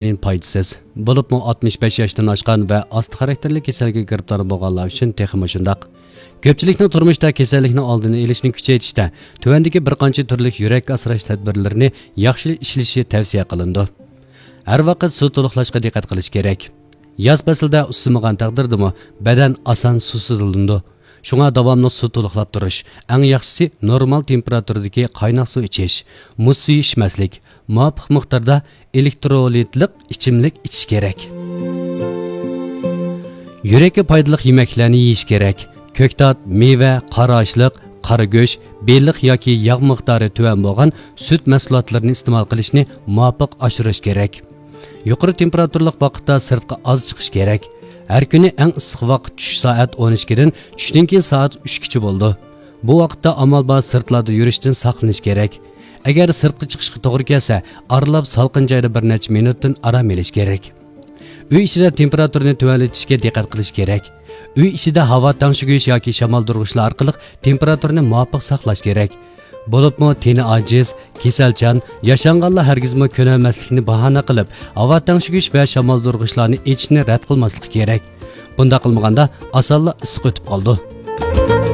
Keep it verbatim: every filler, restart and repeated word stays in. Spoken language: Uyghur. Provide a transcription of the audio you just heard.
ئىنسۇلىن پايدىسىز. بولۇپمۇ ئاتمىش بەش ياشتىن ئاشقان ۋە ئاستا خاراكتېرلىك كېسەلگە گىرىپتار بولغانلار ئۈچۈن تېخىمۇ شۇنداق. كۆپچىلىكنىڭ تۇرمۇشتا كېسەللىكنىڭ ئالدىنى ئېلىشنى كۈچەيتىشتە تۆۋەندىكى بىر قانچە تۈرلۈك يۈرەككە ئاسراش تەدبىرلىرىنى ياخشى ئىشلىشى تەۋسىيە قىلىنىدۇ. ھەر ۋاقىت سۇ تولۇقلاشقا دىققەت قىلىش كېرەك. ياز پەسلىدە ئۇسسىمىغان تەقدىردىمۇ بەدەن ئاسان سۇسىزلىنىدۇ. شۇڭا داۋاملىق سۇ تولۇقلاپ تۇرۇش، ئەڭ ياخشىسى نورمال تېمپېراتۇرىدىكى قايناق سۇ ئىچىش، مۇز سۈيى ئىچمەسلىك، مۇۋاپىق مىقداردا ئېلېكترولىتلىق ئىچىملىك ئىچىش كېرەك. يۈرەككە پايدىلىق يېمەكلەرنى يېيىش كېرەك. كۆكتات، مېۋە، قارا ئاشلىق، قارا گۆش، بېلىق ياكى ياغ مىقدارى تۆۋەن بولغان سۈت مەھسۇلاتلىرىنى ئىستېمال قىلىشنى مۇۋاپىق ئاشۇرۇش كېرەك. يۇقىرى تېمپېراتۇرىلىق ۋاقىتتا سىرتقا ئاز چىقىش كېرەك. ھەر كۈنى ئەڭ ئىسسىق ۋاقىت چۈش سائەت ئون ئىككىدىن چۈشتىن كېيىن سائەت ئۈچكىچە بولىدۇ. بۇ ۋاقىتتا ئامال بار سىرتلاردا يۈرۈشتىن ساقلىنىش كېرەك. ئەگەر سىرتقا چىقىشقا توغرا كەلسە، ئارىلاپ سالقىن جايدا بىر نەچچە مىنۇتتىن ئارام ئېلىش كېرەك. ئۆي ئىچىدە تېمپېراتۇرىنى تۆۋەنلىتىشكە دىققەت قىلىش كېرەك. ئۆي ئىچىدە ھاۋا تەڭشىگۈچ ياكى شامالدۇرغۇچلار ئارقىلىق تېمپېراتۇرىنى مۇۋاپىق ساقلاش كېرەك. بولۇپمۇ تېنى ئاجىز، كېسەلچان، ياشانغانلار ھەرگىزمۇ كۆنەلمەسلىكنى باھانە قىلىپ، ھاۋا تەڭشىگۈچ ۋە شامالدۇرغۇچلارنى ئېچىشنى رەت قىلماسلىقى كېرەك. بۇنداق قىلمىغاندا، ئاسانلا ئىسسىق ئۆتۈپ قالىدۇ.